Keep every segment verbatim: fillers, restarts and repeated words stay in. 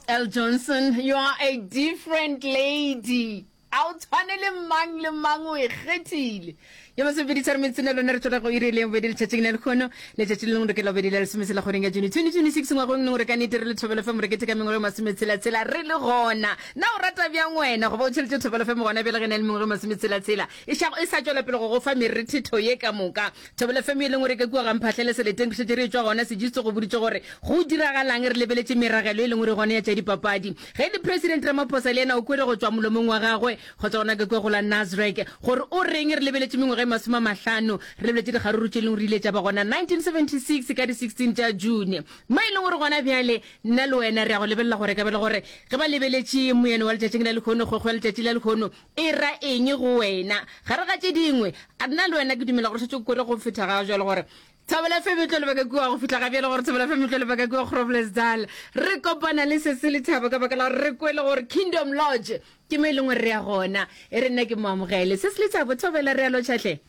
L Johnson, you are a different lady. A o tshwane le mang le mang o e kgethile. Ya masomepedi tharo metsotso le lone re tšwela go iri le bobedi letšatšing la lekgono. Letšatši le lengwe re ke la bobedi la lesometshela kgweding ya June twenty twenty-six ngwageng leng gore ka nnete re le Thobela F M re keteka mengwaga e masometshela-tshela re le gona. Na o rata bjang wena goba o tšheletše Thobela F M gona bjale ge e na le mengwaga e masometshela-tshela e šago e sa tšwela pele go go fa merethetho ye ka moka. Thobela F M e leng gore ka kua ga Mphahlele seleteng re šetše re etšwa gona Sejisto go boditše gore go diragalang re lebeletše meragelo e leng gore gona ya tša dipapadi. Ge e le President Ramaphosa le yena o kwele go tšwa molomong wa gagwe go tšwa gona ka kua go la Nasrec gore o reng re lebeletše mengwaga e masome a mahlano re lebeletše dikgaruru tše leng gore ile tša ba gona nineteen seventy-six ka di sixteen tša June mo e leng gore gona bjale nna le wena re ya go lebelela gore ka bele gore ge ba lebeletše moyeno wa letšatšing la lehono kgwekgwe ya letšatši la lehono e ra eng go wena gare ga tše dingwe a nna le wena ke dumela gore šetše o kwele go feta ga jwale gore Thobela F M e tlo lebaka kua go fihla ga bjale gore Thobela F M e tlo lebaka kua Groblersdal. Re kopana le Sesi Lethabo ka baka la gore re kwele gore Kingdom Lodge ke mo e leng gore re ya gona. E re nna ke mo amogele. Sesi Lethabo, Thobela re a lotšha hle.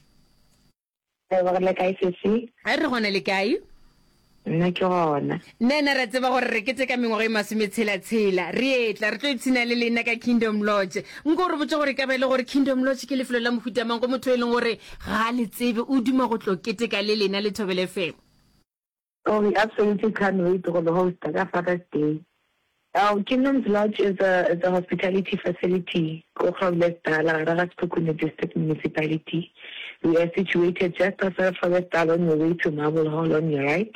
Re le kae sesi? Re gona le kae? Nna ke gona. Nna ena re tseba gore re keteka mengwaga e masometshela-tshela. Re etla, re tlo ipshina le lena ka Kingdom Lodge. Nko o re botše gore e ka ba e le gore Kingdom Lodge ke lefelo la mohuta mang go motho e leng gore ga a le tsebe, o duma go tlo keteka le lena le Thobela F M. Oh, we absolutely can't wait go le hosta ka Father's Day. Oh, Kingdom's Lodge is a, is a hospitality facility ko Groblersdal, gare ga Sekhukhune District Municipality. We are situated just outside of Groblersdal on your way to Marble Hall on your right.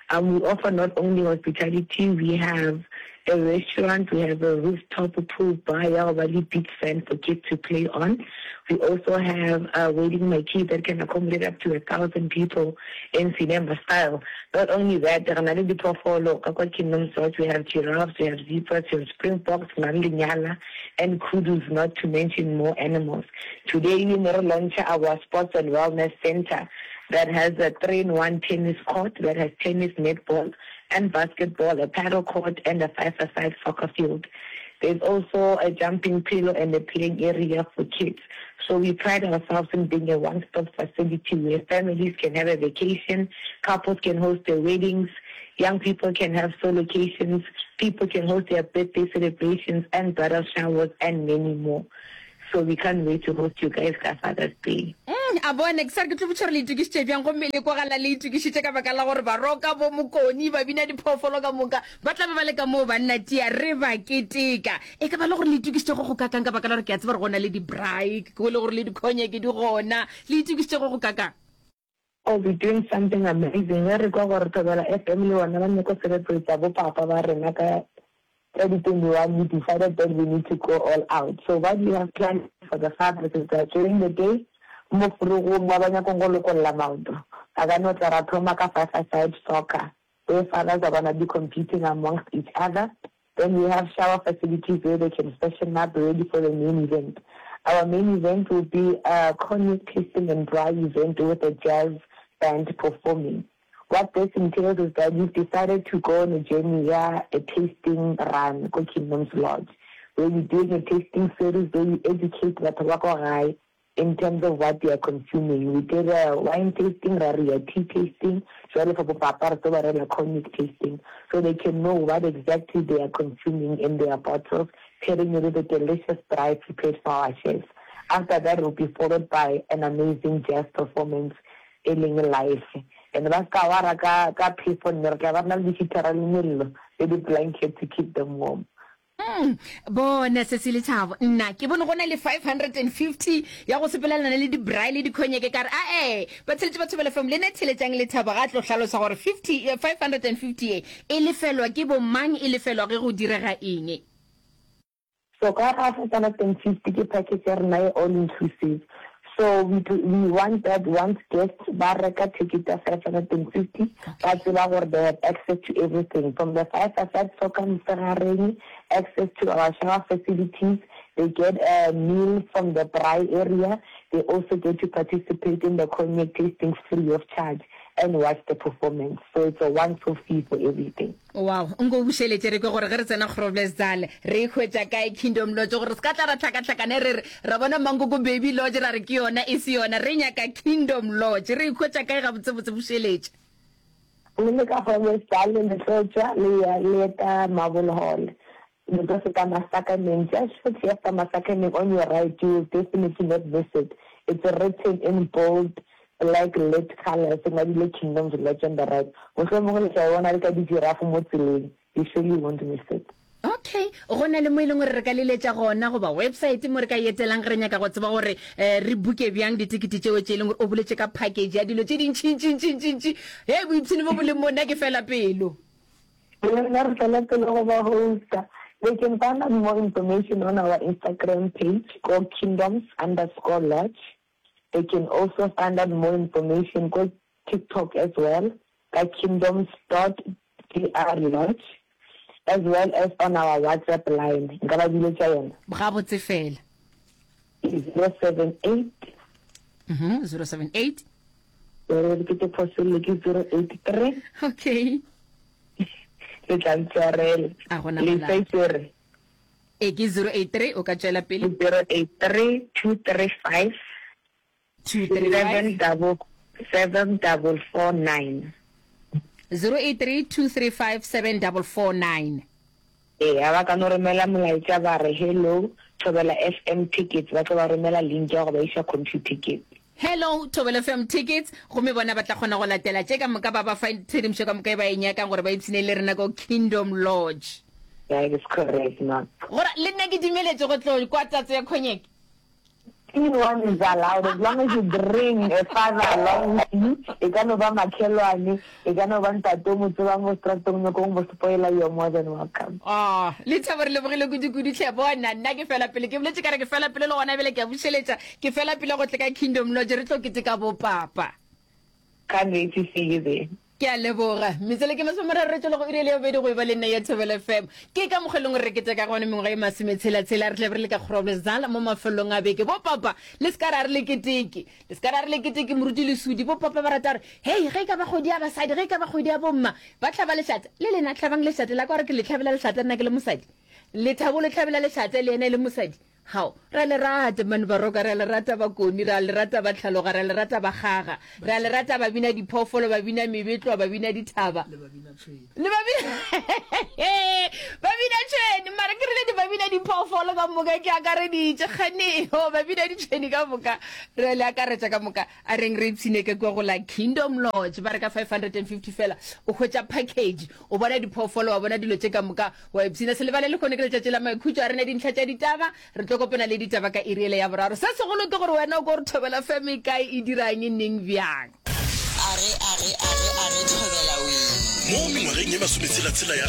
Um, we offer not only hospitality, we have a restaurant, we have a rooftop pool bar ya go ba le beach sand for kids to play on. We also have a wedding marquee that can accommodate up to a thousand people in cinema style. Not only that, re na le diphoofolo ka kwa Kingdom's Lodge. We have giraffes, we have zebras, we have springboks, re na le lenyala and kudus, not to mention more animals. Today we ne re launch our sports and wellness center that has a three-in-one tennis court that has tennis, netball and basketball, a paddle court and a five-a-side soccer field. There's also a jumping pillow and a playing area for kids. So we pride ourselves in being a one-stop facility where families can have a vacation, couples can host their weddings, young people can have solocations, people can host their birthday celebrations and bridal showers and many more. So we can't wait to host you guys ka Father's Day. Mm, a bone, ke sa re ke tlo botša gore le itokišitše bjang, gomme le kwagala le itokišitše ka baka la gore baroka, bo mokoni, ba bina diphoofolo ka moka, ba tla be ba le ka moo banna tia re ba keteka. E ka ba le gore le itokišitše go go kakang ka baka la gore ke a tseba gore go na le di-braai, ke kwele gore le dikhonyeke di gona, le itokišitše go go kakang? Oh, we're doing something amazing. Ge re kwa gore Thobela F M le bona ba nyako celebrate bo papa ba rena ka twenty twenty-one, we decided that we need to go all out. So what we have planned for the fathers is that during the day, mo forogong ba ba nyakong go lokolla maoto, ba ka no tla ra thoma ka five-a-side soccer, where fathers are gonna be competing amongst each other. Then we have shower facilities where they can freshen up ready for the main event. Our main event will be a cognac tasting and braai event with a jazz band performing. What this entails is that we've decided to go on a journey ya a tasting run ko Kingdom's Lodge, where we're doing a tasting series where we educate batho ba ko gae in terms of what they are consuming. We did a wine tasting, ra re ya tea tasting, jwale for bo papa re tlo ba rela cognac tasting, so they can know what exactly they are consuming in their bottles, pairing it with a delicious braai prepared for our chefs. After that, it will be followed by an amazing jazz performance e leng live. And ba ska wara ka, ka phefo nne, re tla ba re na le di-heatera le mello le di-blanket to keep them warm. Mm, bona Sesi Lethabo, nna ke bone go na le five hundred and fifty ya go sepelelana le di-braai le dikhonyeke, ka re ae, ba tsheletše ba Thobela F M, le ne theletšang Lethabo ga a tlo hlalosa gore fifty, five hundred and fifty ye e lefelwa ke bo mang, e lefelwa ge go direga eng. So ka ga five hundred and fifty ke package ya rena ye all inclusive. So we, we want that once guests ba reka ticket ya five hundred and fifty, ba tseba gore they have access to everything from the five aside soccer mosegareng, access to our shower facilities, they get a meal from the braai area, they also get to participate in the cognac tasting free of charge and watch the performance. So it's a one-off fee for everything. Wow, nko o bušeletše re kwe gore ge re tsena Groblersdal re e hwetša kae Kingdom Lodge, gore re se ka tla ra hlakahlakana re re ra bona Mankoko Baby Lodge ra re ke yona, e se yona, re nyaka Kingdom Lodge, re e hwetša kae gabotsebotse, bušeletše. Le le ka Groblersdal le tlo tšwa le ya le eta Marble Hall. Le tlo feta Masakaneng, just shortly after Masakaneng on your right, you will definitely not miss it. It's written in bold black lit colour, se ngwadilwe Kingdoms Lodge on the right. Mohlomongwe le tla e bona le ka di-giraffe mo tseleng. You surely won't miss it. Okay, go na le mo e leng gore re ka leletša gona goba website mo re ka e etelang ge re nyaka go tseba gore um re buke bjang ditekete tšeo tše e leng gore o boletše ka package ya dilo tše dintšintšintšintšintši. Hei, boipshino bo bo leng mo, nna ke fela pelo. Le rena re tšwela pele go ba hosta. They can find out more information on our Instagram page ko kingdoms underscore lodge. They can also find out more information ko TikTok as well ka kingdoms dot dr lodge as well as on our WhatsApp line. Nka ba biletša yona? Gabotse fela. Ke zero seven eight. Mhm, zero seven eight. Ke ke te phosolle ke zero eight three. Okay. Le tla ntshwarela. A gona Le molato. sa itse E ke zero eight three, o ka tšwela pele. Zero eight three two three five Two three seven five. double seven double four nine. Zero eight three two three five seven double four nine. Ee, a ba ka no romela molaetša ba re hello Thobela F M tickets, ba tlo ba romela link ya go ba iša Computicket. Hello Thobela F M tickets, gomme bona ba tla kgona go latela tše ka moka, ba ba fa tshedimošo ka moka e ba e nyakang gore ba ipshine le rena ko Kingdom Lodge. That is correct, ma. Gora le nna ke dumeletše go tlo kwa tatso ya cognac. Anyone is allowed as long as you bring a father along with you. E ka no ba makhelwane, e ka no ba ntate o mo tsebang mo stratong, nyoko o mo spoiler, you are more than welcome. Ah, Lethabo re lebogile kudu-kudu hle. Bona, nna ke fela pele, ke boletše ka re ke fela pele le gona bjale ke a bušeletša, ke fela pele go tle ka Kingdom Lodge re tlo keteka bopapa. Can't wait to see you there. Ke a leboga. Metswele ke masomeraro re tšwela go iri ya bobedi go e ba le nna ya Thobela F M. Ke ka mokgwa e leng gore re keteka gona mengwaga e masometshela-tshela, re tla be re le ka Groblersdal mo mafelong a beke. Bo papa, le se ka ra re le keteke. Le se ka ra re le keteke moruti Lesudi. Bo papa ba rata gore, hei, ge e ka ba kgwedi ya basadi, ge e ka ba kgwedi ya bomma, ba hlaba lešata. Le lena hlabang lešata la ka gore ke le hlabela lešata nna ke le mosadi. Lethabo le hlabela lešata le yena e le mosadi. Hao, ra le rata mane Baroka, ra le rata Bakoni, ra le rata Batlhaloga, ra le rata Bakgaga, ra le rata babina diphoofolo, babina mebetlwa, babina dithaba. Le babina tšhwene. Le babina babina tšhwene, mara ke rile di babina diphoofolo ka moka ke akareditše kganeo, babina ditšhwene ka moka, re le akaretša ka moka. A reng re ipshine ka kua go la Kingdom Lodge, ba re ka five hundred and fifty fela, o hwetša package, o bona diphoofolo, wa bona dilo tše ka moka, wa ipshina. Se lebale lehono ke letšatši la maikhutšo, a rena dintlha tša ditaba, re tlo kopana le ditaba ka iri ele ya boraro. Se segolo ke gore wena o ko re Thobela F M e kae, e dirang, neng, bjang. A re, a re, a re, a re Thobela wee. Mo mengwageng ye masometshela-tshela ya